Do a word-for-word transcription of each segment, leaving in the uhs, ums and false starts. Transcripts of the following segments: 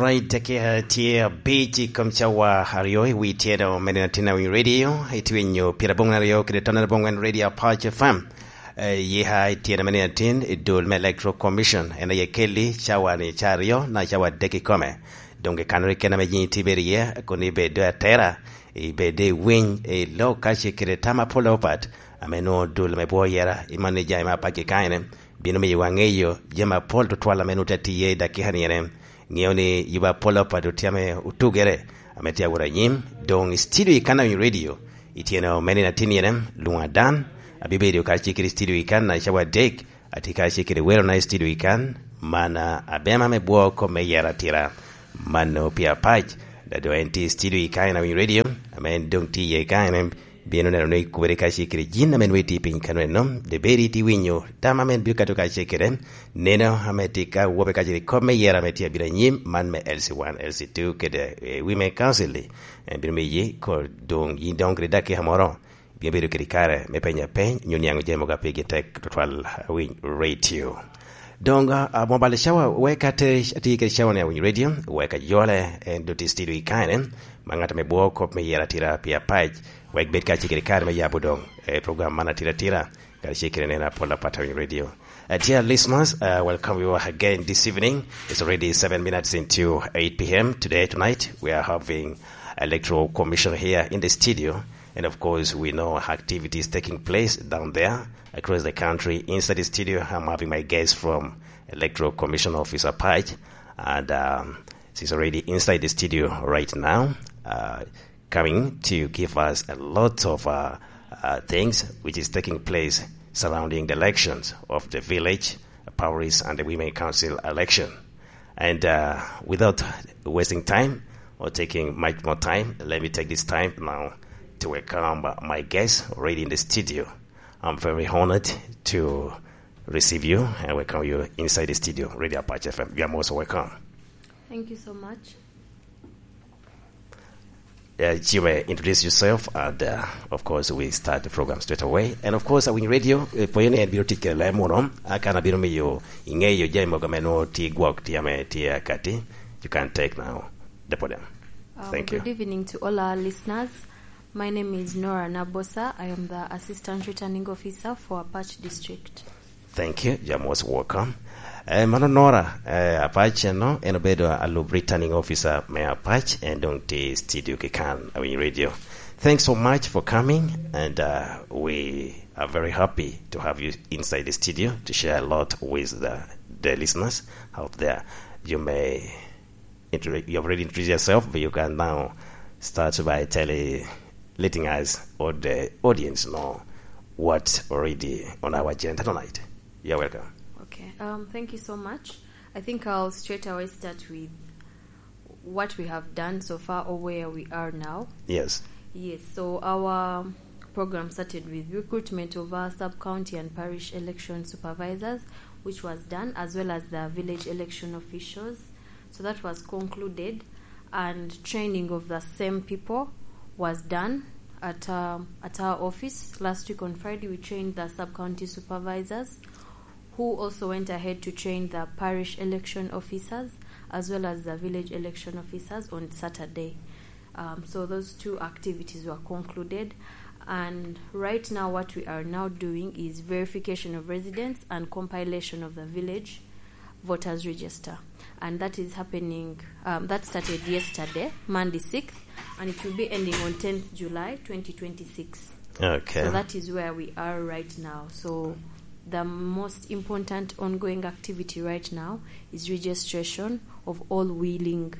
I dakika tye abic i kom cawa aryo i wi tyeno me nino atin awiny radio, itwinyo pyerabongwen aryo kede tonere abongwen Radio Apac F M. Eh, yika i tyeno me nino atin i dul me Electoral Commission, en aye kelli cawa ni ca aryo na cawa adek i kome. Doŋ kikano rik kena me jiŋ itye bedo iye, kun ibedo atera, ibedo i winy, i lok ka ce kede tam apol opapat, ame nwoŋo dul me bwo yera, i man i jami me apac kikanyene, bino miyo wa ŋeyo jami apol tutwal ame nwoŋo tye atiye i dakika ni ene. Ŋeo ni yuba apol opapat otye ame otugere, ame tye awot anyim, doŋ i studio i kan awinyo radio, i tyeno me nino atin ene, lwoŋa dan, abibedo ka ce kede studio i kan na cawa adek, atye ka ce kede welo na i studio i kan, man, ah, abema me bwo kom me yera atira. Mano pi apac, da doŋ en tye i studio i kan awinyo radio, ame en doŋ tye iye kan, bino neno ni kubere kacel kede jin ame nwoŋo itye piny kano eno, de bed itye winyo tam ame en bino kato kacel kede neno ame tye ka wobe kacel i kop me yera ame tye abino anyim, man me L C one, L C two kede, eh, Women Council-li. En bino miyi ko doŋ yin doŋ kede dakika moro, bino bedo kede kare me penyo apeny, nyo niaŋ ojemo ka pigi tek tutwal awiny radio. Doŋ, ah, ah, mobile cawa, wek ate, ati kede cawa ni awiny radio, wek ajole, en doŋ tye studio i kane, ma ŋat ame bwoo kop me yera atira pi apac, wek bed kacel kede kare me yabo doŋ, eh, program man atira atira, kacel kede neno apol apat awiny radio. Uh, dear listeners, uh, welcome you again this evening. It's already seven minutes into eight p m today, tonight. We are having Electoral Commission here in the studio. And of course, we know activities taking place down there across the country. Inside the studio, I'm having my guest from Electoral Commission Office Apac, and, um, she's already inside the studio right now, uh, coming to give us a lot of, uh, uh, things which is taking place surrounding the elections of the village, parish, and the women council election. And, uh, without wasting time or taking much more time, let me take this time now to welcome, uh, my guest already in the studio. I'm very honored to receive you and welcome you inside the studio, Radio Apache F M. You are most welcome. Thank you so much. Uh, you may introduce yourself, and, uh, of course, we start the program straight away. And of course, Awiny Radio, uh, pwonyo ni en bino tic kede leb munu, aka na bino miyo iŋeyo jami mogo ame nwoŋo tye gwok, tye ame tye akati. You can take now the podium. Um, Thank you. Good evening to all our listeners. My name is Nora Nabosa. I am the Assistant Returning Officer for Apac District. Thank you. You're most welcome. Eh, mano Nora, eh, Apac eno, en obedo alub returning officer me Apac, en doŋ tye i studio kikan, Awiny Radio. Thanks so much for coming, and, uh, we are very happy to have you inside the studio to share a lot with the, the listeners out there. You may intro-, you have already introduced yourself, but you can now start by telling, letting us or the audience know what's already on our agenda tonight. You're welcome. Okay, um, thank you so much. I think I'll straight away start with what we have done so far or where we are now. Yes. Yes, so our program started with recruitment of our sub-county and parish election supervisors, which was done, as well as the village election officials. So that was concluded, and training of the same people was done at, um, at our office. Last week on Friday, we trained the sub-county supervisors, who also went ahead to train the parish election officers as well as the village election officers on Saturday. Um, so those two activities were concluded, and right now what we are now doing is verification of residents and compilation of the village voters register, and that is happening, um, that started yesterday, Monday sixth, and it will be ending on tenth July twenty twenty-six. Okay. So that is where we are right now. So the most important ongoing activity right now is registration of all willing,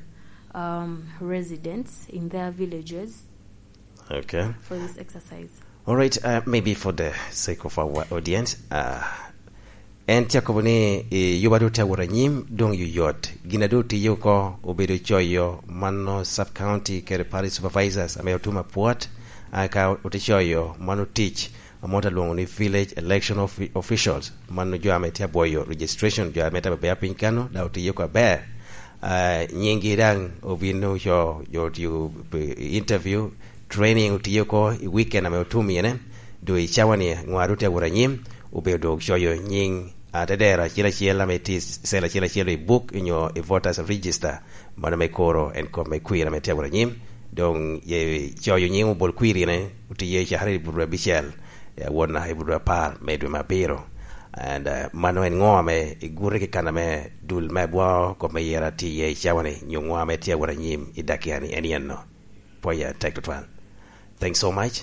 um, residents in their villages. Okay. For this exercise. All right, uh, maybe for the sake of our audience, uh, en tye akobo ni, eh, yuba doŋ tye awot anyim, doŋ yoyot. Gin a doŋ otiye oko obedo coyo mano sub-county kede parish supervisors ame otum apwot, aka ote coyo mano tic ame ote lwoŋo ni village election offi-, officials, mano jo ame tye abwoyo registration, jo ame tye abea piny kano, dok otiye oko aber. Ah, nyinggi daŋ obino co, jo otio, eh, interview, training otiye oko i weekend ame otum iye, doŋ i cawa ni ŋo a doŋ tye awot anyim, obedo doŋ coyo nying atedero acel acel ame tye i cell acel acel i buk onyo i voters register. Mano me koro en kop me kwir ame tye awot anyim. Doŋ ye coyo nyiŋ obol kwir ine otiye i cakere i buto abicel, eh, awot naka i buto apar me dwe me abiro. And, eh, mano en ŋo ame igure ki kan ame dul me abwaŋo kop me yera tye iye i cawa-ni, nyo ŋo ame tye awot anyim i dakia-ni en yen no? Pwoya tek tutwal. Thanks so much.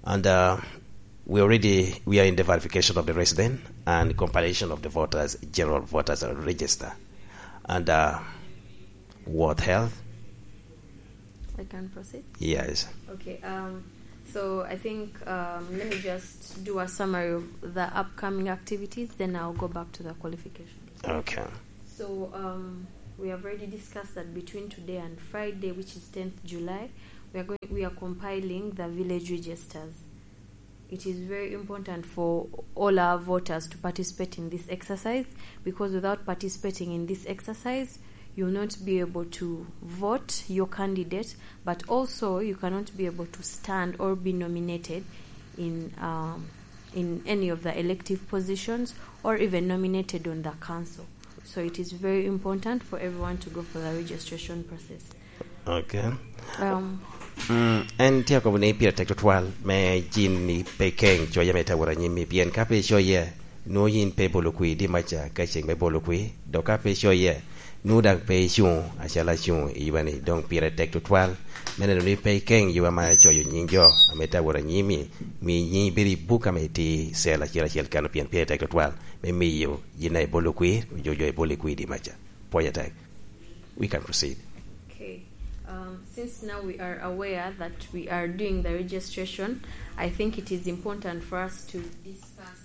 And, uh, we already, we are in the verification of the resident and compilation of the voters, general voters register. And, uh, what health? I can proceed? Yes. Okay, um, so I think, um, let me just do a summary of the upcoming activities, then I'll go back to the qualifications. Okay. So, um, we have already discussed that between today and Friday, which is tenth July, we are going, we are compiling the village registers. It is very important for all our voters to participate in this exercise, because without participating in this exercise, you'll not be able to vote your candidate, but also you cannot be able to stand or be nominated in, um, in any of the elective positions or even nominated on the council. So it is very important for everyone to go for the registration process. Okay. Um, Mm, en tye akobo ni pire tek tutwal me yin ni pe ikeŋ coc ame tye awot anyim-mi, pien ka pe icoye, nwoŋo yin pe ibolo kwir dimaca ka ceŋ me bolo kwir, dok ka pe icoye, nwoŋo daŋ pe icuŋ acalo acuŋ i yuba-ni. Doŋ pire tek tutwal me neno ni pe ikeŋ yuba ma coyo nyiŋ jo ame tye awot anyim-mi, mi nyiŋ bedo i buk ame tye i cell acel acel kano, pien pire tek tutwal me miyo yin a ibolo kwir, onyo jo ibolo i kwir dimaca. Pwoya tek. We can proceed. Okay. Um, since now we are aware that we are doing the registration, I think it is important for us to discuss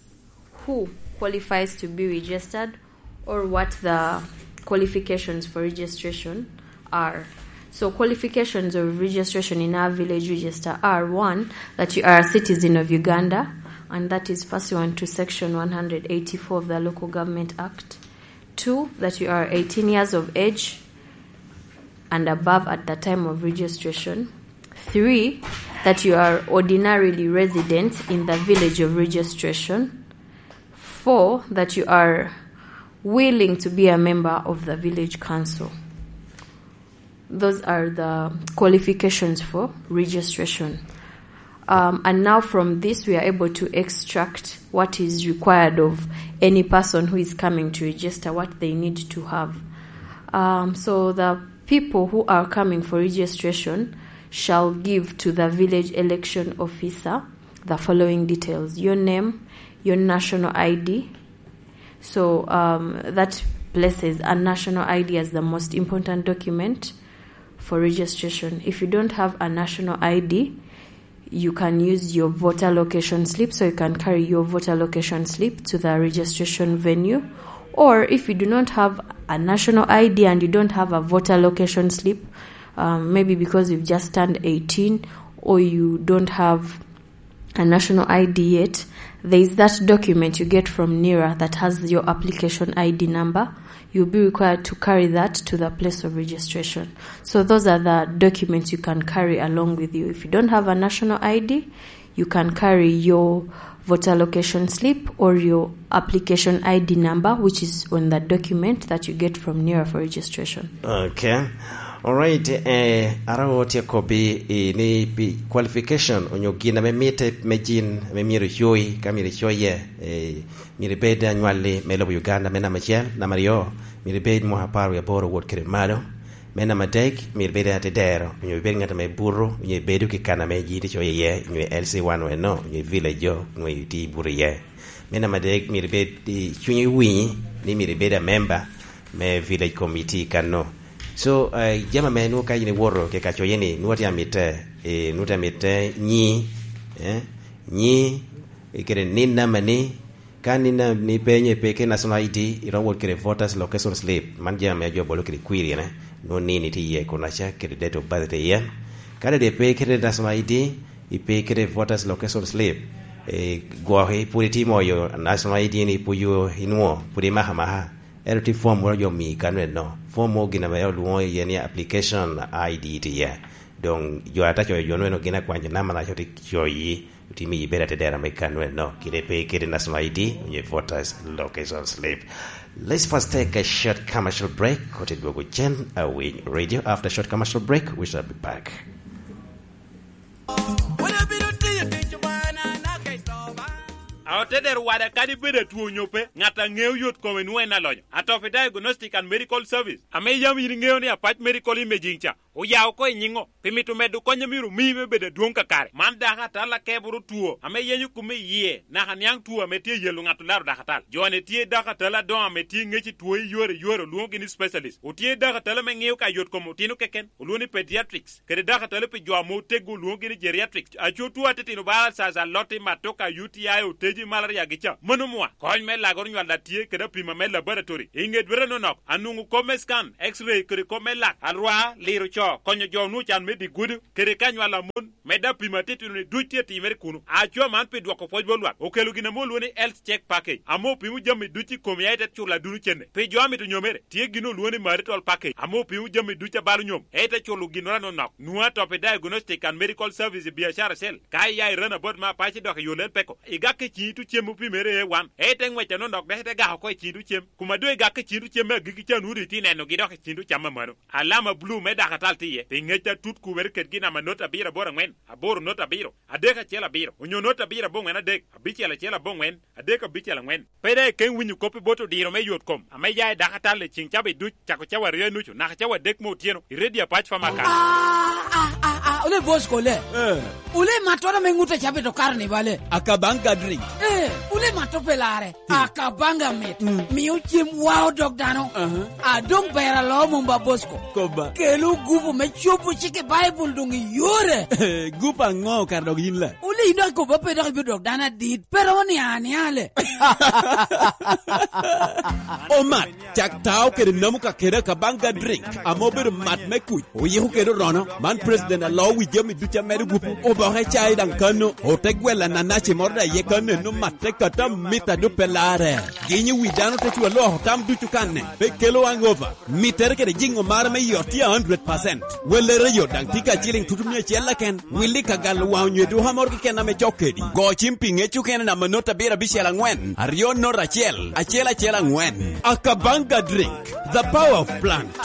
who qualifies to be registered or what the qualifications for registration are. So qualifications of registration in our village register are, one, that you are a citizen of Uganda, and that is pursuant to Section one hundred eighty-four of the Local Government Act. Two, that you are eighteen years of age and above at the time of registration. Three, that you are ordinarily resident in the village of registration. Four, that you are willing to be a member of the village council. Those are the qualifications for registration. Um, and now from this, we are able to extract what is required of any person who is coming to register, what they need to have. Um, so the people who are coming for registration shall give to the village election officer the following details: your name, your national I D. So, um, that places a national I D as the most important document for registration. If you don't have a national I D, you can use your voter location slip, so you can carry your voter location slip to the registration venue. Or if you do not have a national I D and you don't have a voter location slip, um, maybe because you've just turned eighteen or you don't have a national I D yet, there is that document you get from nira that has your application I D number. You'll be required to carry that to the place of registration. So those are the documents you can carry along with you. If you don't have a national I D, you can carry your voter location slip or your application I D number, which is on the document that you get from nira for registration. Okay. Alright, eh, ara otye kobbi i ni pi qualification onyo gin ame mitte me jin ame myero icoyi, ka myero icoye, eh, myero ibed anywalli me lobo Uganda me namba acel, namba aryo, myero ibed mwaka apar wie aboro wot kede malo, me namba adek, myero ibed atedero, onyo ibed ngat ame buto, onyo ibedo ki kan ame jin icoyo iye, onyo i L C one eno, onyo i village jo, onyo itye ibuto iye. Me namba adek, myero ibed i cunyi winyi ni myero ibed a member me village committee kanno. So, eh, jami ame nwoŋo ka in iwoto kede ka coye ni, nwoŋo tye amitte, eh, nwoŋo tye amitte nyi, eh, nyi, eh, kede nin namba ni, ka nin na-, ni pe nyo ipe kede national I D, iromo wot kede voters location slip, man jami ame jo bolo kede query ene, nwoŋo nin itye iye kunaca, kede date of birth tye iye. Ka dong pe kede national I D, ipe kede voters location slip, eh, gwoki pwod itye moyo national I D ni pwod inwoŋo pwod imako amaka. Ento tye form moro jo omiyi kano eno. Form moro gin ame olwoŋo iye ni application I D tye iye. Doŋ jo ata coyo jo nweno gin akwanyo namba na coyo tye coyi. Otimo i bera te dera me kano eno, kite pe kede national I D, onyo voters location slip. Let's first take a short commercial break, kote dwogo cen, a Winy Radio. After short commercial break, we shall be back. Aotedero wada kadi bed atwo onyo pe, ŋat a ŋeo yot kome nwoŋo en alonyo. Atopi Diagnostic and Medical Service, ame yam yin iŋeo ni Apac Medical Imaging ca, oyao oko i nyiŋo, pi mito medo kony a myero omi me bedo adwoŋ kakare. Man dako atal akeboro two, ame yenyo kume i yie, naka niaŋ two ame tye yelo ŋat olaro dako atal. Jo-ni tye dako atal adoŋo ame tye ŋec i two i yore i yore, olwoŋogi ni specialist. Otye dako atal ame ŋeo ka yot kom otino keken, olwoŋo ni pediatrics. Kede dako atal pi jo ame oteggo, olwoŋogi ni geriatrics. Aco two atitino bala alcaza, aloti, matoka, U T I, oteji, malaria gi ca. Mano mwa, kony me lagoro nywal a tye kede apima me laboratory. I ŋe dwete nonok, anwoŋo kop me scan, X-ray, kede kop me lak, alwar, liro co, konyo jo onwoŋo can me dye gudo, kede ka nywal a mon, medde apima atitino-ni duc tye timere kuno. Aco man pi dwoko pwoc bot lwak, okelo gin ame olwoŋo ni health check package, ame opimo jami duc i komi, aye te culo aduno cene. Pi jo a mito nyomere, tye gin olwoŋo ni marital package, ame opimo jami duc a balo nyom, aye te culo ginnoro anonok. Nwoŋo Atopi Diagnostic and Medical Service i biacara acel. Ka iya i Ranabot me Apac idok i yo Lel Peko, igak i ciŋ itu cem opimere A one, aye te ŋwec anonok dok ite gako oko i ciŋ itu cem. Kuma doŋ igak i ciŋ itu cem me agikki ca, nwoŋo doŋ itye nenogi dok i ciŋ itu cam amano. Alama bulu me dako atal tye iye, pi ŋec atut kubere kedgi namba not abiro aboro aŋwen, aboro not abiro, adek acel abiro, onyo not abiro aboŋwen adek, abicel acel aboŋwen, adek abicel aŋwen. Pe daŋ ikeŋ winyo kop i bot odiro me yot kom ame ya i dako atal i ciŋ cawa duc, cako cawa aryo i nucu naka cawa adek me otyeno, i Radio Apac Farmer Car. Ah, ah, ah, ah, ole boss kole. Eh. Ole matto ame ŋut a cabit okaro ni bale. Akabanga drink. Eh, ole matto pe lare. Hmm. Akabanga mit. Hmm. Mio cem wao dog dano. Aha. Adong ber alo mom ba boss ko. Koba. Kelo gupu me cobo cik i Baibul doŋ i yore. Gupu aŋo kara dog yin la? Wule i dok ikobo pe dok ibino dok dano adit, pe romo niaŋ aniaŋ le. Omat, cak tao kede namu ka kede Akabanga drink, ame obedo mat me kuc, oyiko kede orono. Man president alo wi jami ducu a medo gupu, oboke cai daŋ kano, ote gwelo ananaci moro daŋ iye kano, eno mat te kata mit a doŋ pe larre. Ginyo wi dano te cu aloko tam ducu kanne, pe kelo hangover. Mittere kede jiŋo mare me yot tye a hundred percent. Wellere yot daŋ tye ka ciliŋ tutu mia acel keken. Willi ka galo waŋ onyo eduka moro keken ame cok kedi. Go cim pi ŋec okene namba not abiro abicel aŋwen, aryo not acel, acel acel aŋwen. Akabanga drink, the power of plant.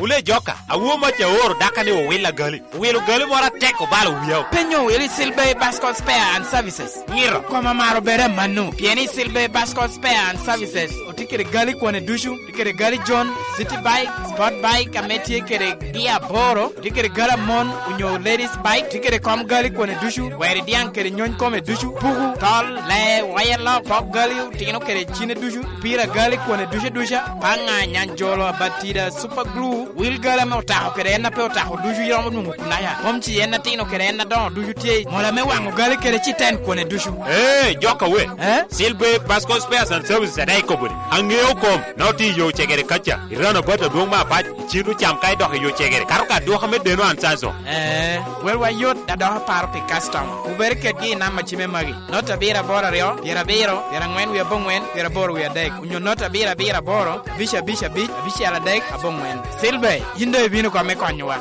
Wule joka, awo mac aoro daka ni owil agali. Owilo gali moro atek obalo wiya. Penyo wili Silver Bascom Spare and Services. Ngiro. Koma maro bere manu. Pien i Silver Bascom Spare and Services, otye kede gali kwane ducu, tye kede gali John, City Bike, Sport Bike, ame tye kede gia aboro, tye kede gali amon, onyo ladies bike, tye kede kom gali kwane ducu, weri diaŋ kede nyony kome ducu, puku, tol, lee, wayalo, pok gali, otino kede cine ducu, pira gali kwane ducu duca, paŋa, nyanjolo, abatida, super glue, wil gali ame otako kede en a pe otako ducu iromo nwoŋo kunaya. Mom ci en atino kede en adoŋo ducu tye i mola me waŋo gali kede citen kwane ducu. Ee, joka we. Eh? Silver Pascal Spares and Services adaŋ ikobo ni, aŋeo kom, na otye i yo cegere kaca, i rano bat adwoŋ me apac, icito cam ka idok i yo cegere, kato ka adwoka me deno an Sanso. Eh, welwa yot, da dok aparo pi customer. Wubere kedgi i namba cime magi. Not abiro aboro aryo, pyerabiro, pyeraŋwen wie aboŋwen, pyeraboro wie adek, onyo not abiro abiro aboro, abic abic abic, abicel adek, aboŋwen. Silver, yin doŋ ibino kong me konyowa.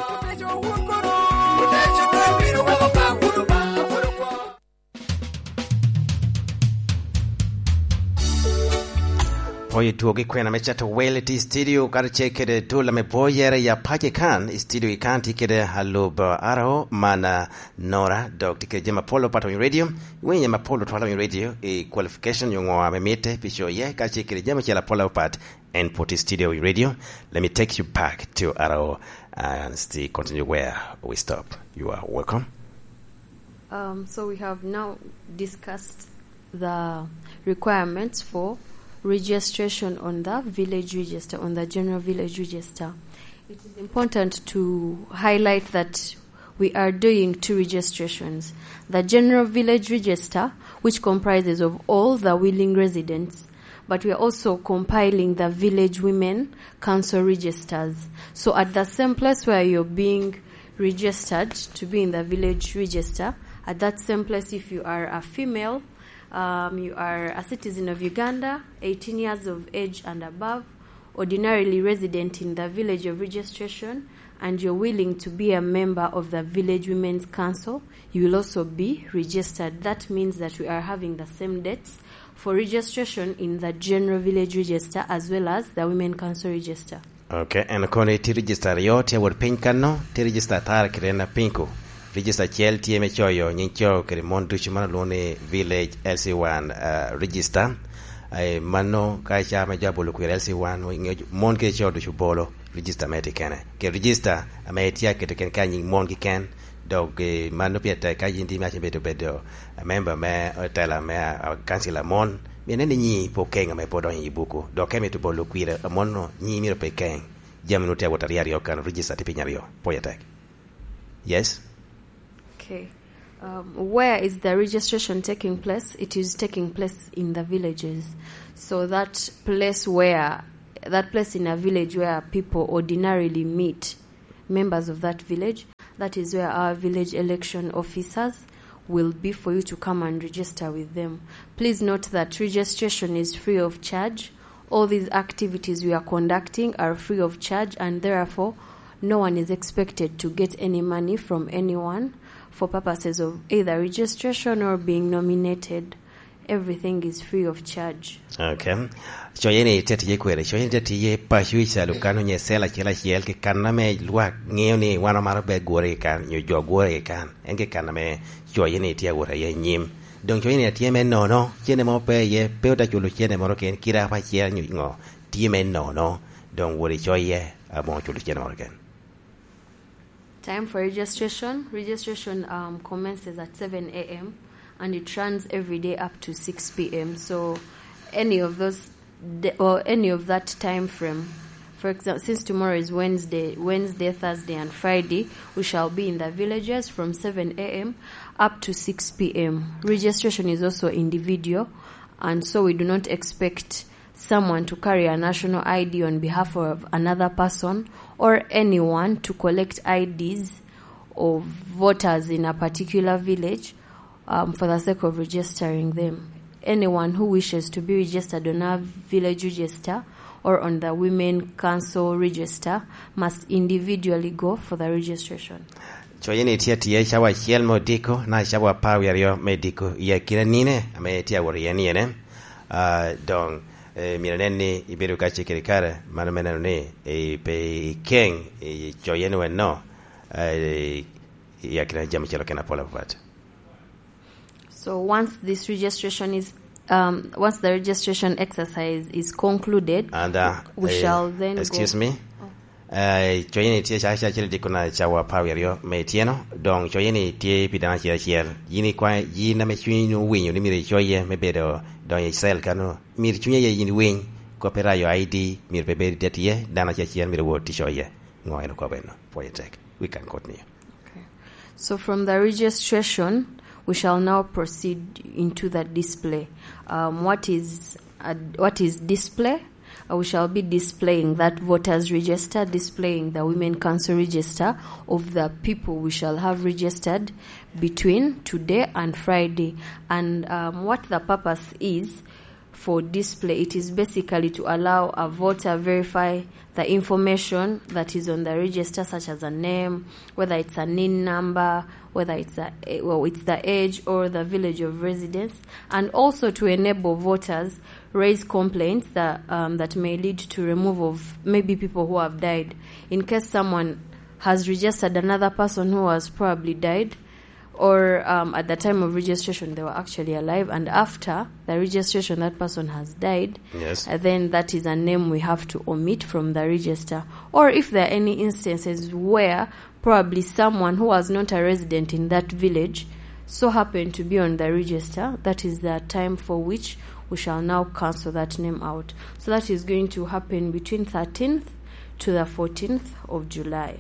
Oye twogi kwena me cato wel i studio, kadi ce kede tula me boyere ya pace kan, i studio i kan tye kede alub, uh, aro man, uh, Nora, dok tye kede jami apol opat Winy Radio. Iwinyo jami apol otwal Winy Radio, i qualification yo ŋo ame mitte pi co iye, ka ce kede jami ocel apol opat en pwod i studio Winy Radio. Let me take you back to aro, uh, and still continue where we stop. You are welcome. Um, so we have now discussed the requirements for registration on the village register, on the general village register. It is important to highlight that we are doing two registrations. The general village register, which comprises of all the willing residents, but we are also compiling the village women council registers. So at the same place where you're being registered to be in the village register, at that same place, if you are a female, um, you are a citizen of Uganda, eighteen years of age and above, ordinarily resident in the village of registration, and you're willing to be a member of the Village Women's Council, you will also be registered. That means that we are having the same dates for registration in the General Village Register as well as the Women Council Register. Ok, en kono tye register aryo tye awot piny kanno, tye register atar kede en apinko. Register acel tye me coyo nying co kede mon ducu, mano olwongo ni Village L C one, uh, Register. Ai, mano ka ca me jo abolo kwir L C one, mon kede co ducu bolo register me tye kene. Ke register ame itye aketo kene ka nying mon kiken, dok, eh, mano pire tek ka yin tye me acel bedo, bedo member me otela me, ah, council a mon, myero inen ni nyi pe okeng ame pe odonyo i buku. Dok ka imito bolo kwir a mon-nu, nyi myero pe keng. Jami nu tye awot aryo aryo kan, register tye piny aryo. Pwoye tek. Yes? Okay. Um, where is the registration taking place? It is taking place in the villages. So that place where, that place in a village where people ordinarily meet, members of that village, that is where our village election officers will be for you to come and register with them. Please note that registration is free of charge. All these activities we are conducting are free of charge, and therefore no one is expected to get any money from anyone for purposes of either registration or being nominated. Everything is free of charge. Okay. Coye ni itye tiye kwene? Coye ni itye tiye paco i calo kan onyo i cell acel acel, ki kan ame lwak ŋeo ni wan omaro pe gure i kan, nyo jo gure i kan. En ki kan ame coye ni itye awot aye i nyim. Doŋ coye ni atye me nono, cene mo pe iye, pe ota culo cene moro ken, kite apa acel nyo ŋo, tye me nono. Doŋ wot icoye, amo culo cene moro ken. Time for registration. Registration, um, commences at seven a m and it runs every day up to six p m. So any of those, the, or any of that time frame, for example, since tomorrow is Wednesday, Wednesday, Thursday, and Friday, we shall be in the villages from seven a m up to six p m. Registration is also individual, and so we do not expect someone to carry a national I D on behalf of another person or anyone to collect I Ds of voters in a particular village, um, for the sake of registering them. Anyone who wishes to be registered on our village register or on the Women Council register must individually go for the registration. Coye ni tye atye cawa acel me odiko, na cawa apar wie aryo me diko, i akina nine ame tye awot iye ni ene. Ah, doŋ, eh, myero inen ni ibedo kacel kede kare, mano me neno ni, eh, pe ikeng, eh, coye ni wenno, eh, i akina jami ocalo kene apol apapat. So once this registration is, um, once the registration exercise is concluded, and, uh, we, eh, shall then excuse go me? Oh. Eh, coye ni tye cawa acel diko na cawa apar wie aryo me ityeno, doŋ coye ni tye pi dano acel acel. Yin ikwae, yin ame cunyi nwoŋo owinyo ni myero icoye me bedo donyo i cell kano, myero cunyi aye yin iwiny, kop irayo I D, myero pe bed atye, dano acel acel myero wot i coye. Ŋo en okobo eno? Pwoye tek. We can continue. Okay. So from the registration, we shall now proceed into the display. Um, what is, uh, what is display? Uh, we shall be displaying that voters register, displaying the Women Council register of the people we shall have registered between today and Friday. And, um, what the purpose is for display, it is basically to allow a voter verify the information that is on the register, such as a name, whether it's a nin number, whether it's a, well, it's the age or the village of residence, and also to enable voters raise complaints that, um, that may lead to removal of maybe people who have died. In case someone has registered another person who has probably died, or, um, at the time of registration they were actually alive, and after the registration that person has died, yes, uh, then that is a name we have to omit from the register. Or if there are any instances where probably someone who was not a resident in that village so happened to be on the register, that is the time for which we shall now cancel that name out. So that is going to happen between thirteenth to the fourteenth of July.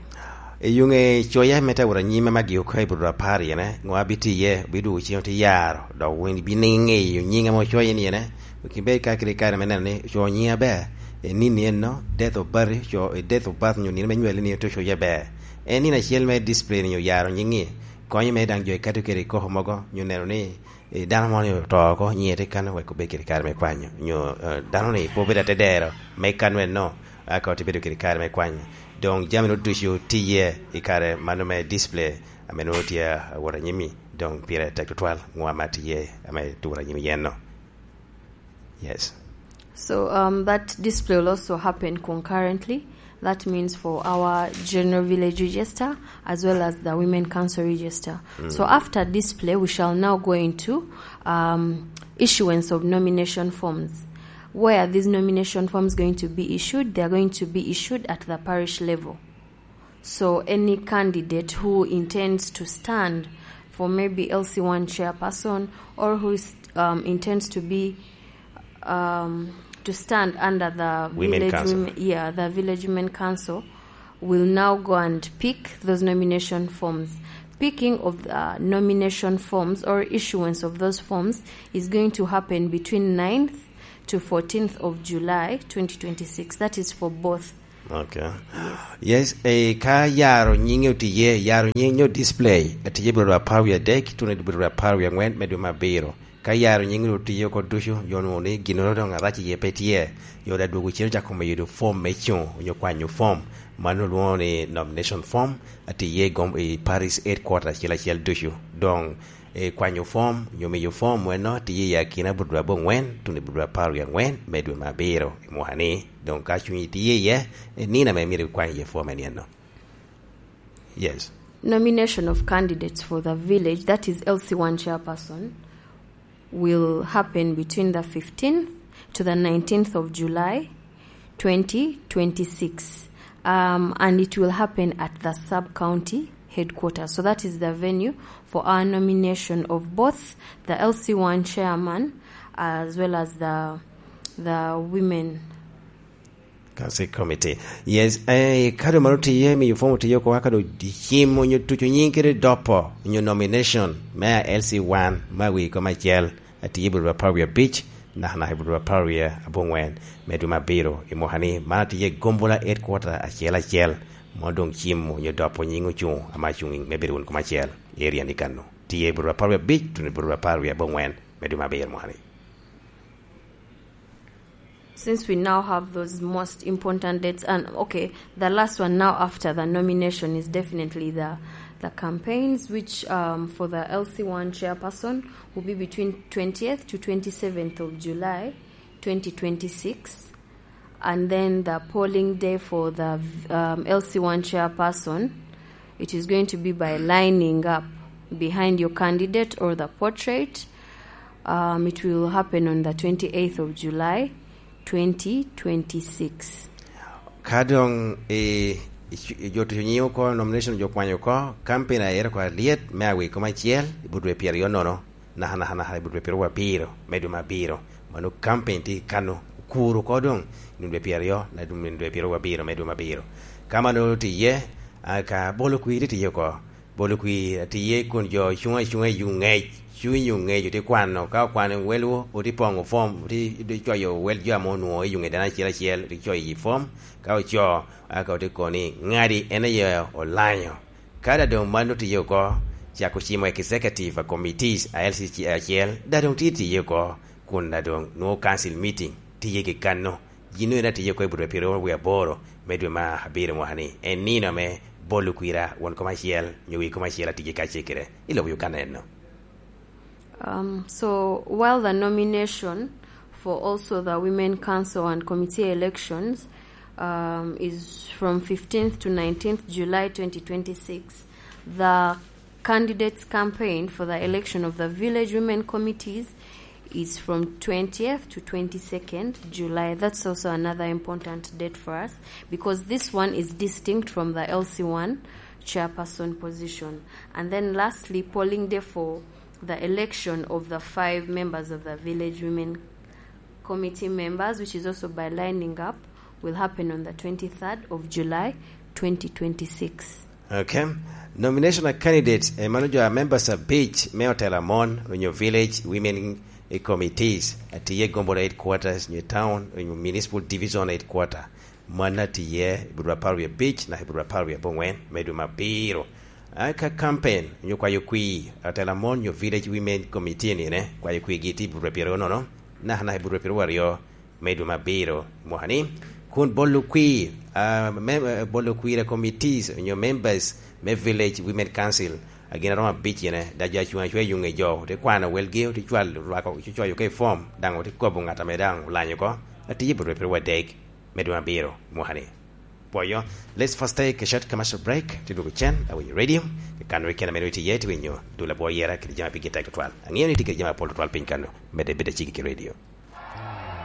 I yuŋe coya me taworo anyim ame agio ka i buto apar iene, ŋo abitiye, bidwogo ciŋo te yaro, dok wun ibino ŋeyo nying ame ocoye ni iene, wek ibed ka kede kare me neno ni ocoyo nyingi aber. I nino eno, date of birth, co-, i date of birth nyo nino me nywali ni ote ocoye aber. En nino acel me display ni oyaro nyingi, konyo me daŋ jo ikato kede i koko mogo, nyo neno ni, eh, dano moni oto oko, nyinge tye kano wek obed kede kare me kwanyo, nyo, eh, dano ni pe obedo atedero me kano eno, Aka ote bedo kede kare me kwany, doŋ jami-nu ducu tye i kare mano me display ame nwoŋo tye awot anyim-mi, doŋ pire tek tutwal ŋo ame atye ame tuwot anyim iyenno. Yes. So, um, that display will also happen concurrently. That means for our general village register as well as the women council register. Mm. So after display, we shall now go into, um, issuance of nomination forms. Where are these nomination forms going to be issued? They are going to be issued at the parish level. So any candidate who intends to stand for maybe L C one chairperson or who is, um, intends to be, um, to stand under the Women village Council. Women, yeah, the village women council will now go and pick those nomination forms. Picking of the nomination forms or issuance of those forms is going to happen between ninth to fourteenth of July twenty twenty-six. That is for both. Okay. Yes. Yes, eh, ka yaro nyinge otiye, yaro nying nyo display, atiye biro apar wie adek, tuno biro apar wie angwen me dwe me abiro. Ka yaro nying otiye oko ducu, yo nwoŋo ni ginnoro doŋ arac iye pe tye, yo da dwogo cen ocako medo form me cuŋ, onyo kwanyo form, mano olwoŋo ni nomination form, atiye i gom-, i parish headquarter acel acel ducu. Doŋ, eh, kwanyo form, onyo miyo form weno, tiye i akina biro dwe abongwen, tuno biro dwe apar wie angwen me dwe me abiro i mwaka ni. Doŋ ka cuny tye iye, eh, nino ame myero ikwany iye form en eno. Yes. Nomination of candidates for the village, that is L C one chairperson, will happen between the fifteenth to the nineteenth of July, twenty twenty-six. Um, and it will happen at the sub-county headquarters. So that is the venue for our nomination of both the L C one chairman as well as the, the women Council Committee. Yes, eh, ka doŋ mano tiye, miyo form otiye oko, ka doŋ cim onyo tuco nying kede dopo, onyo nomination me a L C one, me awi kom acel, atiye i bur apar wie abic, nakanaka i bur apar wie abongwen, me dwe me abiro, i mwaka ni, man atiye i gombola headquarter acel acel, mo doŋ cim onyo dopo nying ocuŋ, ama cuŋ me bedo wun kom acel, i area ni kano. Tiye i bur apar wie abic, tuno i bur apar wie abongwen, me dwe me abiro mwaka ni. Since we now have those most important dates, and, okay, the last one now after the nomination is definitely the, the campaigns, which, um, for the L C one chairperson will be between twentieth to twenty-seventh of July, twenty twenty-six. And then the polling day for the, um, L C one chairperson, it is going to be by lining up behind your candidate or the portrait. Um, it will happen on the twenty-eighth of July, twenty twenty-six. Ka doŋ i, i, i jo tuco nying oko, nomination jo kwanyo oko, campaign aye oko alyet me awi kom acel, i but dwe pyeraryo nono, nakanaka, nakanaka i but dwe pyeraryo abiro, me dwe me abiro. Mano campaign tye kano, okuro oko doŋ, i dwe pyeraryo, na dwe, dwe pyeraryo abiro, me dwe me abiro. Ka mano tye iye, a, ka bolo kwir tye iye oko, bolo kwir tye iye kun jo cuŋ acuŋa i yuŋ ŋec, cuŋ i yuŋ ŋec, otye kwano, ka okwano welwu, otye poŋo form, otye, otye coyo wel jo ame onwoŋo i yuŋ ŋec dano acel acel, otye coyo i form, ka oco, a, ka otye kono ni, ŋadi en aye olanyo. Ka da doŋ mano tye oko, cako cimo executive committees a L C C acel, da doŋ tye tye oko, kun da doŋ nwoŋo council meeting tye kekano. Gin eno tye oko i bur dwe pyeraryo wie aboro me dwe me abiro mwaka ni. En nino ame bolo kwira won kom acel, nyo wi kom acel atye kacel kede i lobo Uganda eno. Um, so while the nomination for also the Women Council and Committee elections, um, is from fifteenth to nineteenth July twenty twenty-six, the candidates campaign for the election of the village women committees is from twentieth to twenty-second July. That's also another important date for us because this one is distinct from the L C one chairperson position. And then lastly, polling day for the election of the five members of the village women committee members, which is also by lining up, will happen on the twenty-third of July, twenty twenty-six. Okay. Nomination of candidates, eh, mano jo a members abic me otela mon, onyo village women, eh, committees, atiye gombola headquarters, onyo town, onyo municipal division headquarter. Mano atiye i bur apar wie abic naka i bur apar wie abongwen me dwe me abiro. A ka campaign, onyo kwayo kwir, atela mon, onyo village women committee nine, kwayo kwirgi tye i bur pyeraryo nono, naka naka i bur pyeraryo aryo me dwe me abiro mwaka ni. Kun bolo kwir, ah, mem-, eh, bolo kwir a committees onyo members me Village Women Council, a gin aromo abic ene, da jo acuŋ acwa i yuŋ i jo, te kwano welgi, te cwal, rwako, te cwayo ka i form, daŋ te kobo ŋat ame daŋ olanyo oko, atiye bot rwepere wadek, me dwe abiro, mwaka ni. Pwoyo, let's first take a short commercial break, te dwogo cen, awinyo radio, kano i kena meno itye iye, te winyo dul abwo yera, kede jami a pigi tek tutwal. Aŋeo ni tye kede jami apol tutwal piny kano, medde bedo acigi ki radio.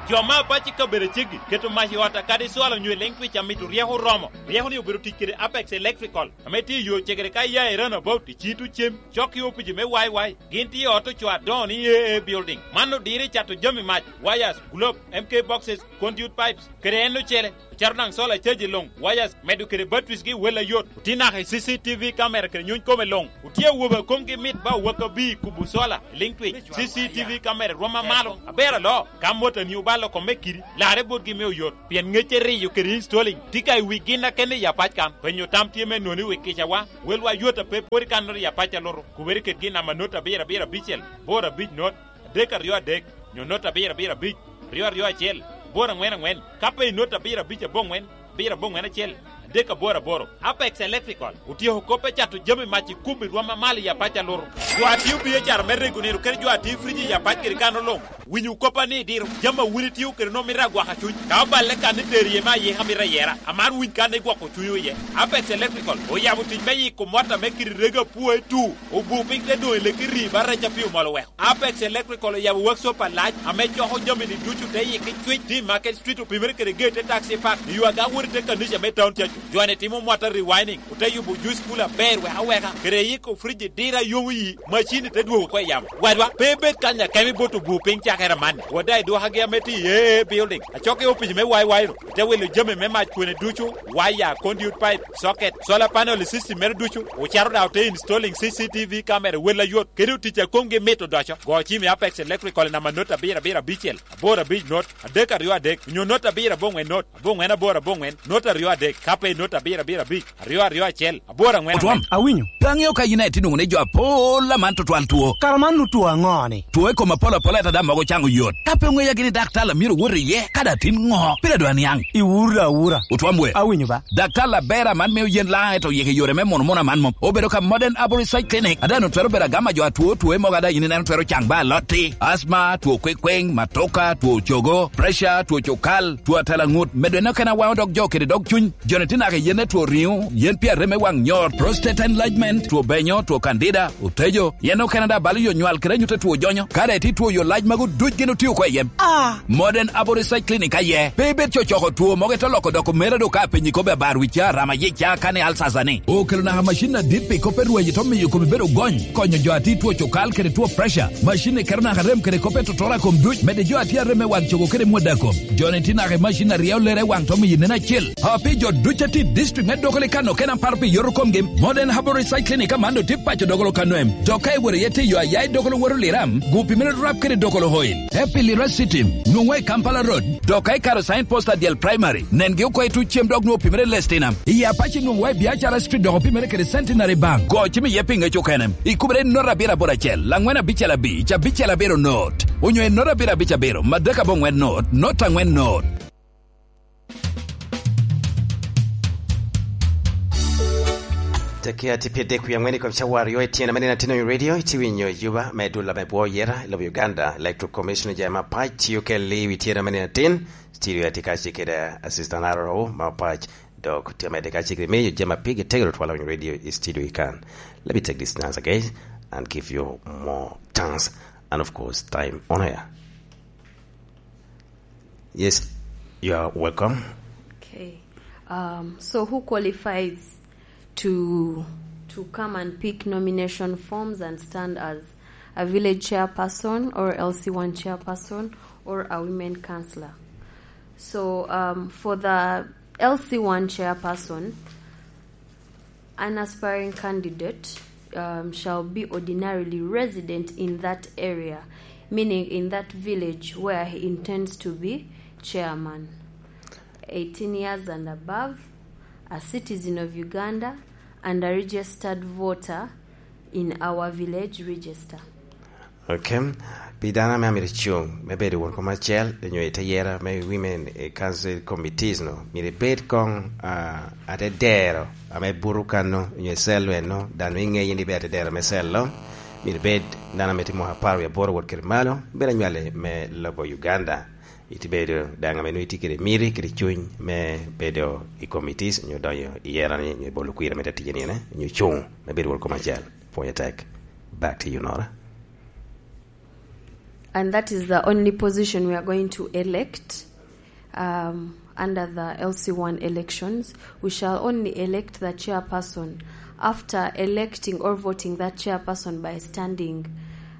Jo me apac i kabedo aceggi keto mac i ot a kadi cwalo onyo i leŋ twic a mito ryeko oromo. Ryeko-ni obedo tic kede Apex Electrical, ame tye i yo cegere ka iya i Roundabout, i Cito Cem, cok i opici me Y Y. Gin tye i ot ocoo adoŋo ni A A Building. Man odiro i cato jami mac, wires, globe, M K boxes, conduit pipes, kede en ocele. Ocato daŋ solar caji luŋ, wires, medo kede batteries gi wel ayot. Otye naka i C C T V camera kede nyuny kome luŋ. Otye awobe a komgi mit ba owakabi i kubo solar, i liŋ twic. C C T V camera rwom amalo, aber alo. Ka motoni obalo kome kidi, larre botgi me oyot, pien ŋecce riyo kede installing tye ka i wi gin a kene i apac kan. Penyo tam tye me noni wi kicawa, welwa yot a pe pwod i kannoro i apac a luto. Kubere kede gin namba not abiro abiro abicel, boro abic not, adek aryo adek, nyo not abiro abiro abic, aryo aryo acel, aboro aŋwen aŋwen, ka pe i not abiro abic aboŋwen, abiro aboŋwen acel, adek aboro aboro. Apex Electrical otyeko kop me cato jami mac i kubo i rwom amalo i apac a luto. Jo a tio biacara me rego nino kede jo a tio frij i apac kede kano luŋ, winyo koppa ni diro jami a wun itio kede nwoŋo mito agwaka cuny. Ka oballe kan ni tero iye me ayika mito ayera, aman winy kan igwoko cunywu iye. Apex Electrical oyabo tic me yiko mot ame kidi rego apwoe tu, obu piny te doŋ i leki rii ba rec a pi omol oweko. Apex Electrical oyabo workshop alac ame coko jami-ni ducu te yik i Cwic, T Market Street, opimere kede gate te taxi park, i yo aga wot i te kanica me town cacu. Jo-ni timo mota rewinding, ote yubo juice cooler aber wek aweka, kede yiko fridge diro a yomo yi, macin-ni te dwogo oko i yamo. Wadwa, pe ibed kany akemo ibot obu piny cakere amanni. Wada i dwokagi ame tye i A A Building, acok i opic me Y Y ru, ite wilo jami me mac kwene ducu, waya, conduit pipe, socket, solar panel i system mere ducu, ocato daŋ ote installing C C T V camera wel ayot, kede otic a komgi mit odoco. Go cim i Apex Electrical i namba not abiro abiro abicel, aboro abic not, adek aryo adek, onyo not abiro aboŋwen not, aboŋwen aboro aboŋwen, not aryo adek, ka pe i not abiro abiro abic, aryo aryo acel, aboro aŋwen Otwom, aŋwen. Awinyo. Pe aŋeo ka yin aye tye nwoŋo ni jo apol aman tutwal two. Kara man nu two aŋo ni? Two i kom apol apol ata daŋ mogo caŋ oyot. Ka pe oŋeya gini daktar a myero wot iye, ka daŋ tin ŋo? Pire dwa niaŋ. Iwura awura. Otwom we. Awinyo ba. Daktar aber aman mio yen laŋ eto yeke yore me mono mono aman mom. Obedo ka Modern Arborist Clinic. Ada no twero bedo agama jo atwo two mogo ada yin ineno twero caŋ ba alotti. Asma, two kwekweng, matoka, two cogo, pressure, two cokal, two atalaŋut. Medo en okene awaŋo dog jo kede dog cuny. Joni tye naka i yen me two riŋo, yen pi arem me waŋ nyor, prostate enlargement, two benyo, two candida, otejo, yen okene daŋ balo yo nywal kede anyut a two jonyo. Ka daŋ itye two yo lac magu duc gin otye oko i yem. Ah! Modern Abo Research Clinic aye. Pe ibed cocoko two mogo ite loko doko mere do ka apenyi kobbe abar wi ca, rama yic ca, kane alsasa ni. Okelo naka macin adit pi kop pe rweny ite miyo kome bedo gony, konyo jo a tye two cokal kede two pressure. Macin ni keto naka rem kede kop pe totoro a kom duc, medde jo a tye arem me waŋ cogo kede mwada kom. Joni tye naka i macin a ryeo lere i waŋ to miyo nen acel. A pi jo duc a tye i district me Dokoli kan okene aparo pi yoto komgi, Modern Herbal Recycling ka man otye paco Dokolo ka nwem. Dok ka iwero iye tye yo a ya i Dokolo woto Liram, gupi mere rap kede Dokolo Oil. Happy Lira City, nwoŋwa i Kampala Road, dok ka ikaro sign post a Dyel Primary, nengi oko i tuc cem dok nwoŋo opimere Lestina. I Apache nwoŋwa i Biacara Street dok opimere kede Centenary Bank. Go cim iye pi ŋec okene. Ikubere i not abiro aboro acel, laŋwen abicel abic, abicel abiro not. Onyo i not abiro abic abiro, madek aboŋwen not, not aŋwen not. Tekke atye pye dek wie aŋwen i kom cawa aryo i tyena me nino atin onyo radio, itye winyo Juba me dul ame bwo yera i lobo Uganda. Electoral Commission ojayo mapac, tio kelli i wi tyena me nino atin. Studio atye kacel kede Assistant R O mapac, dok tye amedde kacel kede miyo jami a pigi tegero twala winyo radio i studio i kan. Let me take this chance again and give you more chance and of course time on air. Yes, you are welcome. Okay. Um, so who qualifies to, to come and pick nomination forms and stand as a village chairperson or L C one chairperson or a women councillor? So, um, for the L C one chairperson, an aspiring candidate, um, shall be ordinarily resident in that area, meaning in that village where he intends to be chairman. Eighteen years and above, a citizen of Uganda, and a registered voter in our village register. Okay. Pi dano ame amito cuŋ me bedo won kom acel, onyo i te yera me Women, eh, Council Committees no, myero ibed koŋ, ah, atedero ame buto kanno, onyo i cell eno, dano iŋeyo ni ibedo atedero me cell-lo, myero ibed dano ame tye mwaka apar wie aboro wot kede malo, bedo anywali me lobo Uganda. Itye bedo daŋ ame nwoŋo itye kede miti, kede cuny me bedo i committees, onyo donyo i yera-ni, onyo i bolo kwira me te ticce ni ene, onyo cuŋ me bedo won kom acel. Pwonye tek. Back to you, Nora. And that is the only position we are going to elect, um, under the L C one elections. We shall only elect the chairperson after electing or voting that chairperson by standing,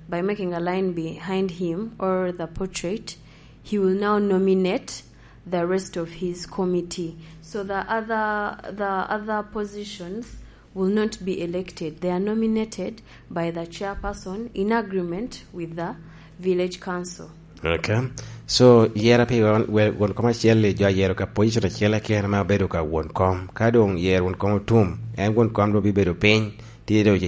by making a line behind him or the portrait. He will now nominate the rest of his committee. So the other, the other positions will not be elected. They are nominated by the chairperson in agreement with the village council. Okay. So, yera pi won, we-, won kom acel-li, jo ayero ka position acel keken ame obedo ka won kom. Ka doŋ yero won kom otum, en won kom doŋ bibedo piny, tye doŋ